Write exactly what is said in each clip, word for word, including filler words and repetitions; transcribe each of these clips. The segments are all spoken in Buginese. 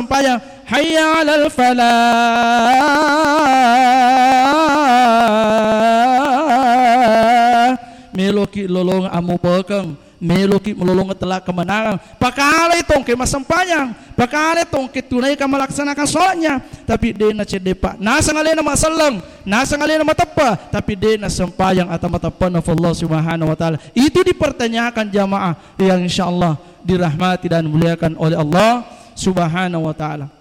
massempajang, "Hayya 'alal falah." Meloki lolongeng ammupekeng, meloki melolongeng tella kemenangan. Pakalai tongke massempajang, pakalai tongke tunaikan melaksanakan sholatnya. Tapi de' nacedde, Pak. Naseng alena maselleng, naseng alena mateppa, tapi de' nassempajang atau mateppa na Allah Subhanahu wa Ta'ala. Itu dipertanyakan jamaah yang insyaallah dirahmati dan dimuliakan oleh Allah Subhanahu wa Ta'ala.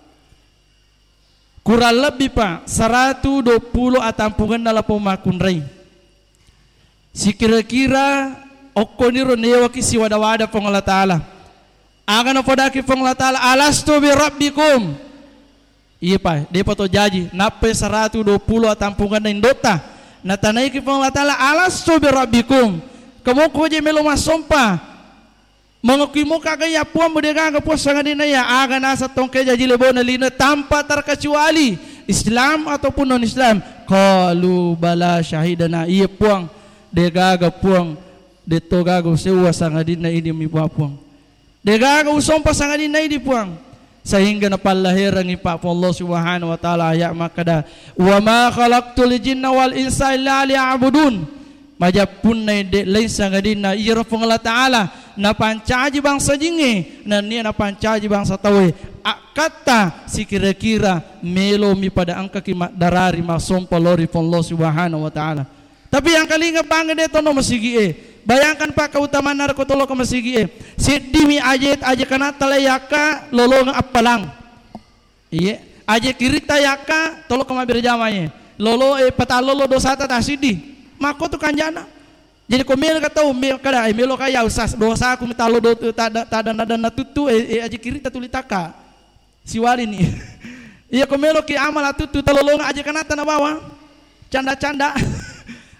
Kurang lebbi, Pak, saratu dua puluh atampungenna lapong makkunrai. Sikira-kira okkoniro newaki siwada-wada Puang Allah Ta'ala. Aga napodaki Puang Allah Ta'ala, "Alastu bi rabbikum?" Iya, Pak, de'pa to jaji. Nappai saratu dua puluh atampungenna indotta. Natanaiki Puang Allah Ta'ala, "Alastu bi rabbikum?" Kemoko je melo massompa. Mengakui muka ga iya Puang, bu de' gaga Puang sangadinna iya, aga naseng tongke jaji lebona lino tanpa terkecuali Islam ataupun non Islam. Qalu bala syahidana, iya Puang, de' gaga Puang, de' to gaga usewa sangadinna idi mi Puang. De' gaga usompa sangadinna idi Puang. Sehingga napallaherangi Pak Puang Allah Subhanahu wa Ta'ala ayat makkada, "Wa ma khalaqtul jinna wal insa illa liya'budun." Majappunna de' lain sangadinna iyaro Puang Allah Ta'ala napancaji bangsa jingnge, nennia napancaji bangsa tauwe. Akkatta sikira-kira melomi pada engkaki maddarari massompa lao ri Puang Allah Subhanahu wa Ta'ala. Tapi engkalinga bangnge de' tonno masigi'e. Bayangkan, Pak, keutamaan narekko toloko masigi'e. Seddimi aje, aje kanatta lai yakka lolongeng appalang. Iye, aje kiritta yakka toloko mabbere jamae. Lolo, eh, patallolo dosata tasiddi. Makko tu kanjana. Jadi ko melo ka tau, me-, kada, eh, melo ka ya usas dosaku mitallo do-, tada-, tada-, tada natuttu, eh, eh, aje kiritta tuli takka. Siwalini. Iya ko meloki amala tuttu talolonga aja kanata nabawa. Canda-canda.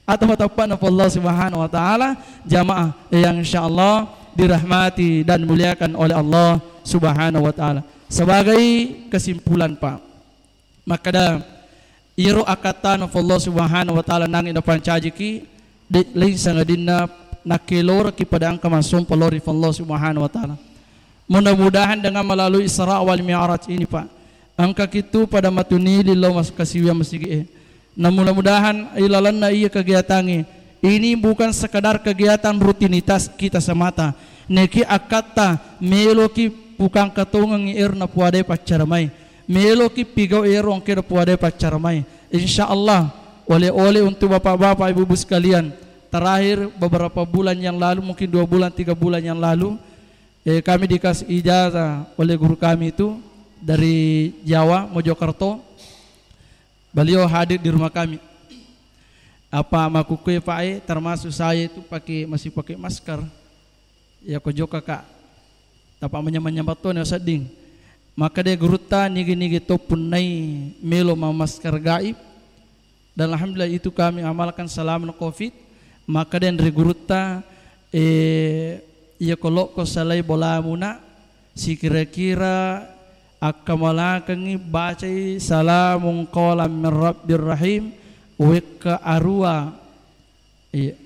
Atau matappa na Allah Subhanahu wa Ta'ala, jamaah yang insyaallah dirahmati dan dimuliakan oleh Allah Subhanahu wa Ta'ala. Sebagai kesimpulan, Pak, makkada, iyaro akkattana Allah Subhanahu wa Ta'ala nangi napancajiki, de-, lain sangadinna nakkeloraki pada engka massompa lao ri Allah Subhanahu wa Ta'ala. Mudah-mudahan dengan melalui Isra wal Mi'raj ini, Pak, engka kitu pada matunili lao mas-, kasiwiang masigi'e. Na mudah-mudahan ilalenna iya kegiatangnge, ini bukan sekadar kegiatan rutinitas kita semata. Neki akkatta meloki pukangka tongengngi ero napuadai paccara mai. Meloki pigau ero engka napuadai paccara mai. Insya Allah, oleh-oleh untuk bapak-bapak, ibu-ibu sekalian. Terakhir, beberapa bulan yang lalu, mungkin dua bulan, tiga bulan yang lalu, eh, kami dikasih ijazah oleh guru kami itu dari Jawa, Mojokerto. Beliau hadir di rumah kami. Apa makkukue, Pak, eh, termasuk saya itu pakai, masih pakai masker. Iya ko jokka, Kak. Tapa manyameng-nyameng to ni sedding. Makkeda gurutta, nigi-nigi to punnai melo mammasker gaib. Dan alhamdulillah itu kami amalkan selama covid. Makkeda ri gurutta, eh, iya ko lokko salai bolamuna, sikira-kira akkamalakengngi bacai salamun qaulan min rabbir rahim, wekka arua. Iya.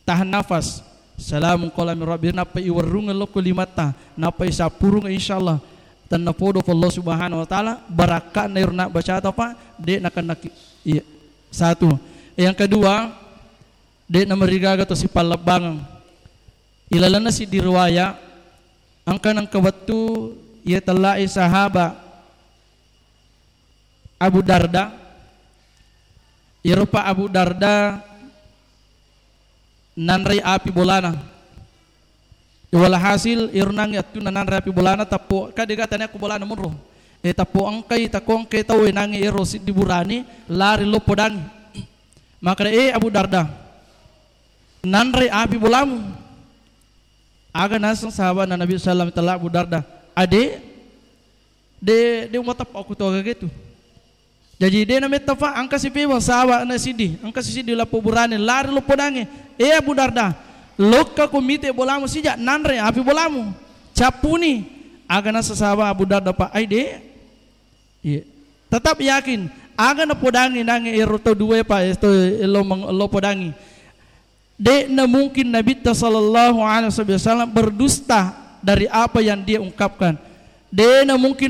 Tahan nafas. Salamun qaulan min rabbir, nappa iwerrungeng lokko limatta, nappa isappurung, insyaallah tennapodo ko Allah Subhanahu wa Ta'ala, barakka'na iro nabbacata, Pak, de' nakennaki. Iya. Satu. Yang kedua, de' namarigaga to sipallebbangeng. Ilalenna siddi riwaya, engka nengka wettu iya tellae sahaba Abu Darda. Iyaro pa Abu Darda nanrei api bolana. Walhasil, iyaro nangnge attunna nanre api bolana, tappo, ka dega tania ko bolana monro. Eh, tappo engkai, takko engkai tau, eh, nangnge iyaro siddi burane lari loppo dangi. Makkeda, "Eh, Abu Darda, nanrei api bolamu." Aga naseng sahabatna Nabi sallallahu alaihi wasallam tella Abu Darda, "Ade, de, de umateppa ko tu aga ketu." Jaji de nametta fa, engka si pebang sahabatna siddi, engka si siddi lappo burane lari loppo dange. "Eh, Abu Darda, lokka ko mite bolamu sija nanre api bolamu. Cappuni." Aga naseng sahabat Abu Darda, Pak, "Ai de." Iya. Tetap yakin, aga napodangi nange ero tau dua, Pak, eh, to elo meng-, elo podangi. De'na mungkin Nabitta sallallahu alaihi wasallam berdusta dari apa yang dia ungkapkan. De'na mungkin